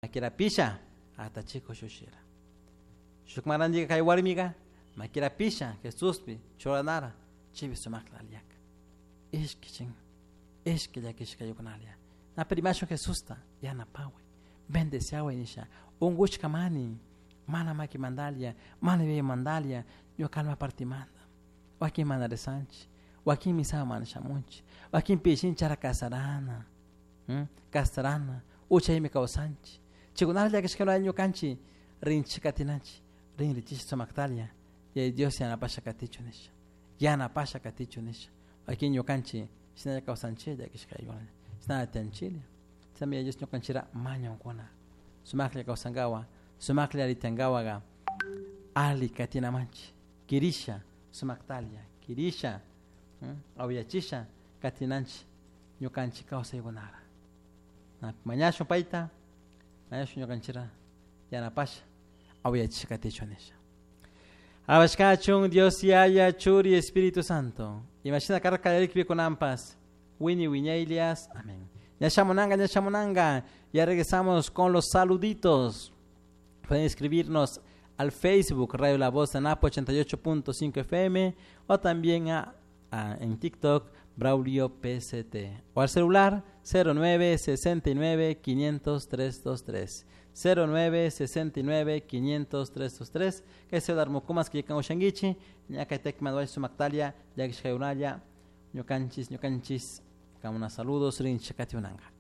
Makirapisha atachiko shushira. Shukmarandiga kay warmiga makirapisha Jesuspi churanara chibi sumakla aliyaka. Ishki ishki llakishkayukunalia. Na primasho Jesusta yanapaway. Bendeciaway nisha. Ungushka mani. Mana maki mandalia, mana yuyay mandalia, ñuka alma partimanta. Wakin mana rezanchik, wakin misa mana shamunchik, wakin pishinchara kasarana, kasarana, uchaymi kawsanchik. Chaykunata llakishkala ñukanchik rinchik katinanchik, rinrichish sumaktalia, yaya Dios yanapasha katichu nisha, yanapasha katichu nisha. Wakin ñukanchik shinalla kawsanchik llakishkayuna, shinalla tiyanchiklla. Chaymi yaya Dios ñukanchikra mañankuna, sumaklla kawsankawa, sumaklla allitankawaqa ali katinamanchik, kirisha sumaktalia, kirisha, awyachisha katinanchik ñukanchik kawsaykunara. Mañashun payta, mañashun ñukanchikra yanapasha awyachisha katichun nisha. Alabashkachun Dios Yaya, Churi, Espíritu Santo. Imashina karka kallarikpi kunanpas. Wini wiñaylias. Amén. Ñashamunanga, ñashamunanga. Ya regresamos con los saluditos. Pueden escribirnos al Facebook Radio La Voz de Napo 88.5 FM o también en TikTok Braulio PCT o al celular 09 69 500 323 09 69 500 323 que se darmukumas que ushanguichi ñakaytek maduay sumaktalia llakishkayunalla ñukanchis ñukanchis kamuna saludos rinchakatiunanga.